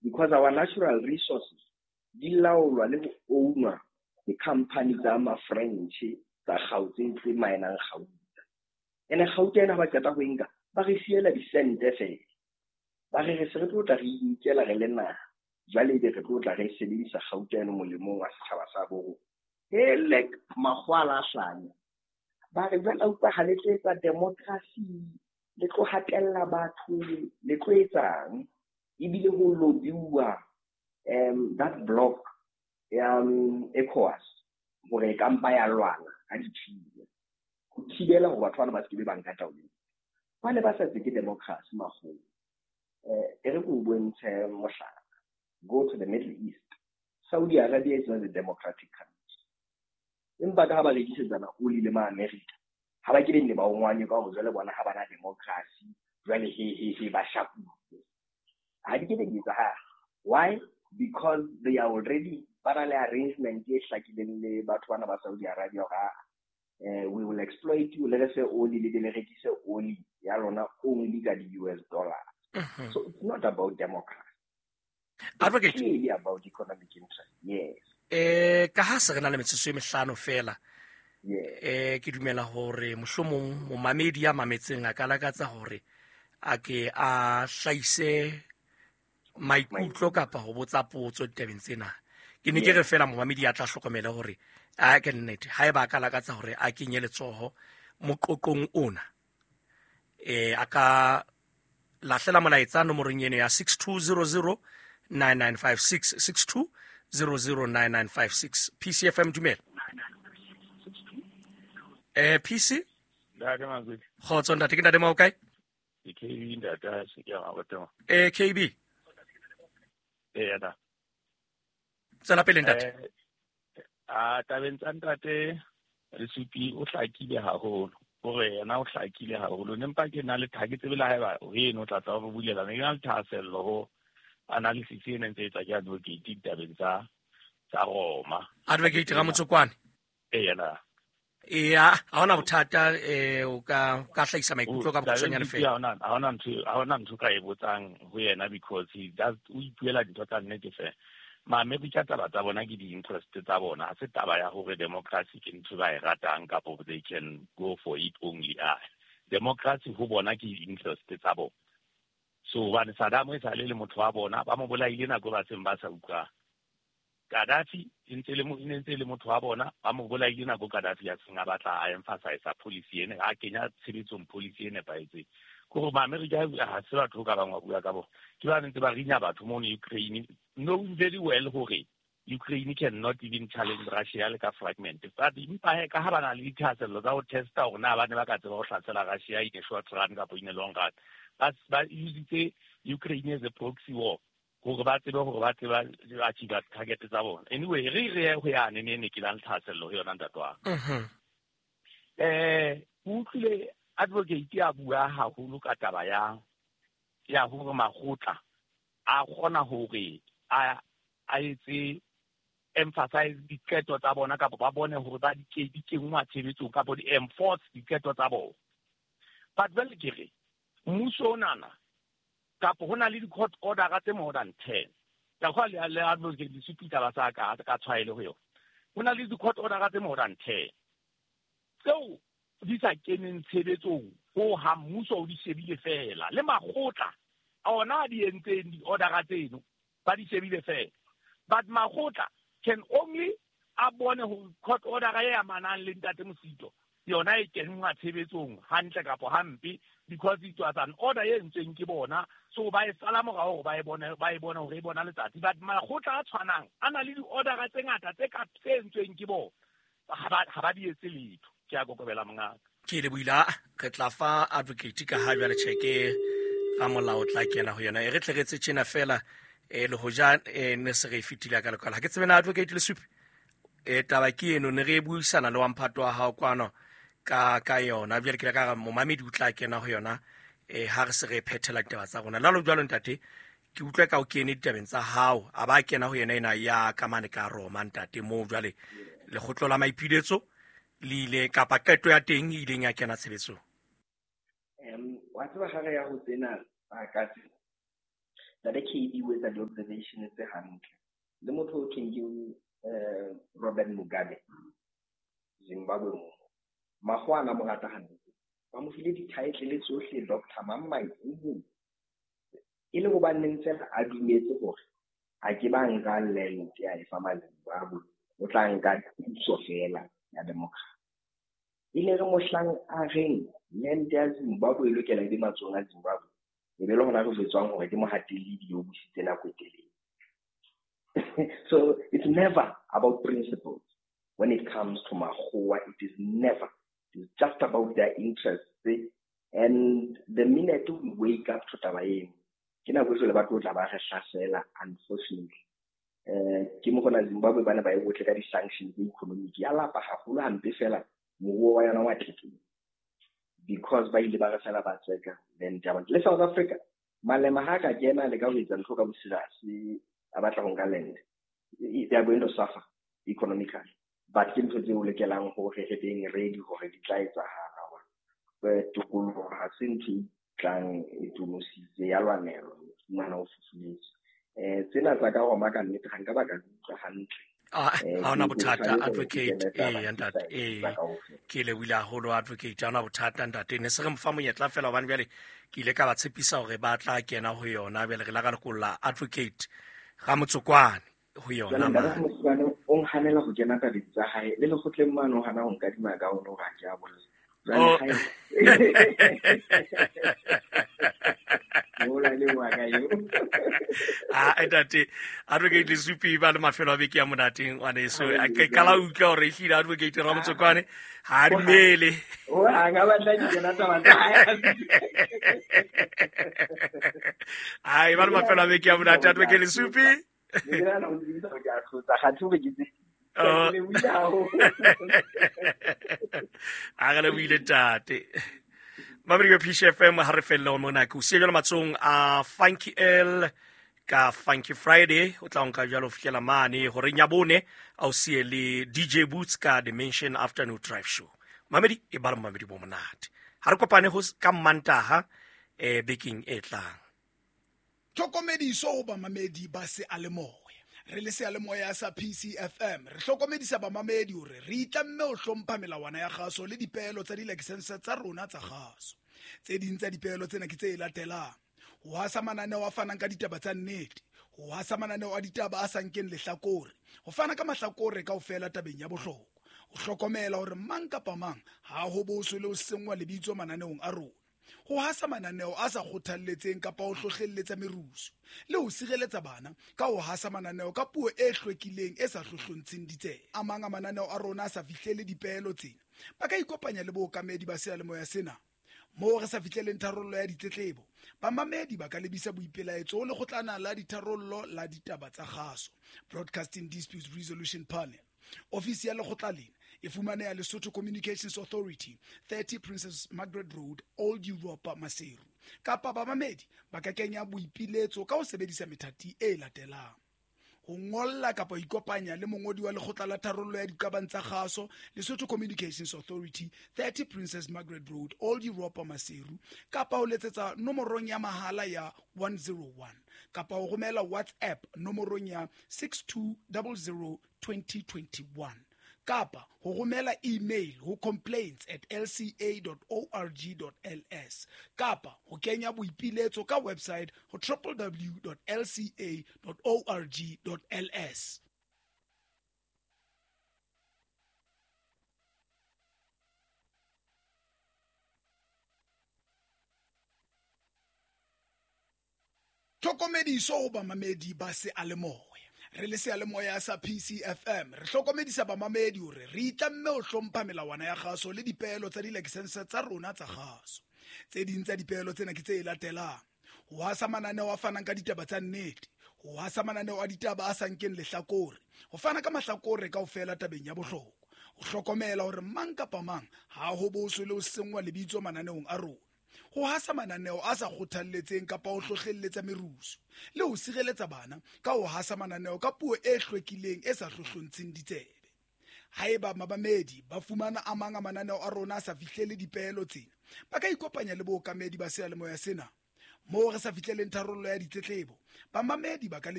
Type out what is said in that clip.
Because our natural resources di laolwa le go ownwa ke company tsa ma-French tsa tse tse minang gauta. Ene gauta ena ha ba qeta go e nka, ba re siela disente fela. Ba re re se re tlo tla re inkela re le naha. Jwale ebe re tlo tla re sebedisa gauta eno molemong wa setjhaba sa bo rona. Hele, makgowa a la hlanya. Ba re jwale utlwa ha le tlo etsa democracy, le tlo hatella batho, le tlo etsang? Ebile ho lobiwa that block ya ECOWAS hore e ka mpa ya lwana ka dithunya ho thibela hore batho bana ba se ke be ba nka taolo. Ba ne ba sa tseke democracy makgowa. E re ke o bontshe mohlala. Go to the Middle East. Saudi Arabia is not a democratic country. Empa ka ha ba rekisetsana oli le ma-America, ha ba ke be nne ba ongwanye ka hore jwale bona ha bana democracy, jwale he he he ba shapuwe. Ha di ke be di etsahala. Why? Because they are already ba na le arrangement e hlakileng le batho bana ba Saudi Arabia hore we will exploit you, le re fe oli, le be le rekise oli ya lona only ka di-US dollars. So it's not about democracy. Advocate. It's clearly about economic interest. Yes. Ka ha se re na le metsotso e mehlano fela. Yes. Ke dumela hore mohlomong momamedi ya mametseng a ka lakatsa hore a ke a hlahise maikutlo kapa ho botsa potso ditabeng tsena. Ke ne ke re fela momamedi a tla hlokomela hore a ke nnete haeba a ka lakatsa hore a kenye letsoho moqoqong ona, a ka lahlela molaetsa nomorong eno ya 62009956, 62009956. PCFM, dumela. PC? Ntate Mankwetla. Kgotso ntate, ke ntate Mao kae? Ke KB ntate, se ke ya go teng. KB. Yena. Tswela pele ntate. A tabeng tsa ntate Lesupi o hlakile haholo. Hore yena o hlakile haholo. Ne mpa ke na le tha, ke tsebe le haeba ho eno o tla tla o re bulela. Ne ke na le thahasello ho analysis e neng tse etsa ke advocate ditabeng tsa Roma. Advocate Ramotsokwane. Yena. Eya, ha hona bothata, o ka hlahisa maikutlo ka bokgutshwanyane fela. Ha hona ntho, ha hona ntho ka e botsang ho yena because he does, o ipuela dintho tsa nnete fela. Ma-America taba tsa bona ke di-interest tsa bona, ha se taba ya hore democracy ke ntho ba e ratang kapo they can go for it only. Democracy ho bona ke interest tsa bona. So hobane Saddam e sale le motho wa bona, ba mo bolaile nako ba seng ba sa utlwa. Gaddafi e ntse le mo, e ne ntse le motho wa bona, ba mo bolaile nako Gaddafi a seng a batla a emphasize policy ene, a kenya tshebetsong policy e nepahetseng. Ke hore ma-America ha se batho ka bang wa bua ka bona. Ke ba ntse ba rinya batho mono Ukraine, knowing very well hore Ukraine cannot even challenge Russia le ka fragment. But empa he, ka ha ba na le dithahasello tsa ho testa hore na ba ne ba ka tseba ho hlasela Russia in a short run kapa in a long run. Ba usitse Ukraine as a proxy war hore ba tsebe hore ba tseba achieve target tsa bona. Anyway, re re ye ho yane ne ne ke nang le thahasello ho yona ntate wa ka. O utlwile advocate a bua haholo ka taba ya hore makgotla a kgona hore a etse emphasize diqeto tsa bona kapa ba bone hore ba di kenngwa tshebetsong kapa di enforce diqeto tsa bona. But jwale ke re, mmuso onana kapa ho na le di-court order tse more than 10. Ka kwa le advocate Lesupi taba sa ka, ka tshwaele ho yona. Ho na le di-court order tse more than 10. Tseo di sa keneng tshebetsong ho hang, mmuso o di shebile fela. Le makgotla ona a di entseng di-order tseno, ba di shebile fela. But makgotla can only a bone ho court order e amanang le ntate Mosito, yona e kenngwa tshebetsong hantle kapo hampe, because it was an order e entsweng ke bona, so ba e sala morao hore ba e bone hore e bona letsatsi. But makgotla a tshwanang a na le di-order tse ngata tse ka tse entsweng ke bona, ha ba di etse letho. Ke a kokobela mongaka. Ke lebohile, re tla fa advocate ka ha jwale tjheke ra molao tla kena ho yona. E re tle re etse tjena fela, le hoja, ne se re e fetile ka lekwalo. Ha ke tsebe na advocate Lesupi, taba ke eno, ne re e buisana le wa mphato wa hao kwano ka yona. Jwale ke ile ka re momamedi o tla kena ho yona, ha re se re phethela ditaba tsa rona. Lalo jwalo ntate, ke utlwe ka o kene ditabeng tsa hao, a ba kena ho yena ena ya ka mane ka Roma ntate, moo jwale lekgotlo la maipiletso le ile kapa qeto ya teng e ileng ya kena tshebetsong. Wa tseba ha re ya ho tsena ka tsena. Ntate KB o etsa di-observation tse hantle. Le motho o thweng ke Robert Mugabe, Zimbabwe mo. Makgowa a mo rata hantle. Ba mo file di-title tsohle, Doctor mang mang eng. E le hobaneng feela a dumetse hore a ke ba nka land ya e fa ma-Zimbabwe, o tla nka puso feela ya democracy. E le re mohlang a reng land ya Zimbabwe e lokela e be matsohong a Zimbabwe, e be le hona re jwetswang hore ke mohatelli ebile o busitse nako e telele. So it's never about principles. When it comes to makgowa, it is never. It is just about their interests. And the minute we wake up to taba eno, ke nako e jwale ba tlo tla ba re hlasela, unfortunately. Ke mo gona Zimbabwe ba ne ba e botle ka di-sanctions tse economic. Ya lapa haholo hampe fela moruo wa yona wa tlekeng. Because ba ile ba re fela ba tseka land ya bona. Le South Africa, Malema ha ka kena le ka ho etsa ntho ka bosirase, a batla ho nka land. They are going to suffer economically. But ke ntho tseo lokelang hore re beng ready hore di tla etsahala. Tokoloho ha se ntho e tlang e tonositse ya lwanelwa, fumana o fufuletswe. Tsena tsa ka Roma ka nnete ga nka ba ka utlwa hantle. Ha hona bothata advocate, ntate, ke lebohile haholo advocate, ha hona bothata ntate. Ne se re mofa monyetla fela hobane jwale ke ile ka ba tshepisa hore ba tla kena ho yona. Jwale re la ka lokolla advocate Ramotsokwane ho yona. Mane o nhanela ho kena tabeng tsa hae le lekgotleng mane o hana ho nkadima ka ona hore ha ke a bolla. Ntate advocate Lesupi ba le mafelo a beke ya monateng ngwaneso. Ke qala utlwa hore ehlile advocate Ramotsokwane ha a dumele. Ai ba le mafelo a beke ya monate advocate Lesupi. A re lebohile ntate. Mamedi wa Peace FM ha re felle mona ke o siya jwalo matsohong a Funky L ka Funky Friday, o tla nka jwalo ho fihlela mane horeng ya bone, a o siye le DJ Boots ka Dimension Afternoon Drive Show. Mamedi e ba le mamedi bo monate. Ha re kopane ho ka Mantaha bekeng e tlang. Tlhokomediso ho bamamedi ba seyalemoya. Re le seyalemoya sa PCFM re hlokomedisa bamamedi hore re itlamme ho hlompha melawana ya kgaso le dipeelo tsa dilakesense tsa rona tsa kgaso. Tse ding tsa dipeelo tsena ke tse latelang: ho hasa mananeo a fanang ka ditaba tsa nnete, ho hasa mananeo a ditaba a sa nkeng lehlakore, ho fana ka mahlakore kaofela tabeng ya bohlokwa, ho hlokomela hore mang kapa mang ha ho boswe le ho senngwa lebitso mananeong a rona, ho hasa mananeo a sa kgothalletseng kapa ho hlohlelletsa merusu, le ho sireletsa bana ka ho hasa mananeo ka puo e hlwekileng e sa hlohlontsheng ditsebe. A mang a mananeo a rona a sa fihlele dipeelo tsena, ba ka ikopanya le bookamedi ba seyalemoya sena. Moo re sa fihleleng tharollo ya ditletlebo, bamamedi ba ka lebisa boipelaetso ho lekgotlana la ditharollo la ditaba tsa kgaso, Broadcasting Disputes Resolution Panel. Ofisi ya lekgotla lena e fumaneha Lesotho Communications Authority, 30 Princess Margaret Road, Old Europa, Maseru. Kapa bamamedi ba ka kenya boipiletso ka ho sebedisa methati e latelang: ho ngolla kapa ho ikopanya le mongodi wa lekgotla la tharollo ya diqabang tsa kgaso, Lesotho Communications Authority, 30 Princess Margaret Road, Old Europa, Maseru, kapa ho letsetsa nomorong ya mahala ya 101, kapa ho romela WhatsApp nomorong ya 6200 2021, kapa ho romela email ho complaints@lca.org.ls, kapa ho kenya boipiletso ka website ho www.lca.org.ls. Tlhokomediso ho bamamedi ba seyalemoya. Re le seyalemoya sa PCFM re hlokomedisa bamamedi hore re itlamme ho hlompha melawana ya kgaso le dipeelo tsa dilakesense tsa rona tsa kgaso. Tse ding tsa dipeelo tsena ke tse latelang: ho hasa mananeo a fanang ka ditaba tsa nnete, ho hasa mananeo a ditaba a sa nkeng lehlakore, ho fana ka mahlakore kaofela tabeng ya bohlokwa, ho hlokomela hore mang kapa mang ha ho boswe le ho senngwa lebitso mananeong a rona, ho hasa mananeo a sa kgothalletseng kapa ho hlohlelletsa merusu, le ho sireletsa bana ka ho hasa mananeo ka puo e hlwekileng e sa hlohlontsheng ditsebe. Haeba mabamedi ba fumana a mang a mananeo a rona a sa fihlele dipeelo tsena, ba ka ikopanya le bookamedi ba seyalemoya sena. Moo re sa fihleleng tharollo ya ditletlebo, Bamamedi ba ka lebisa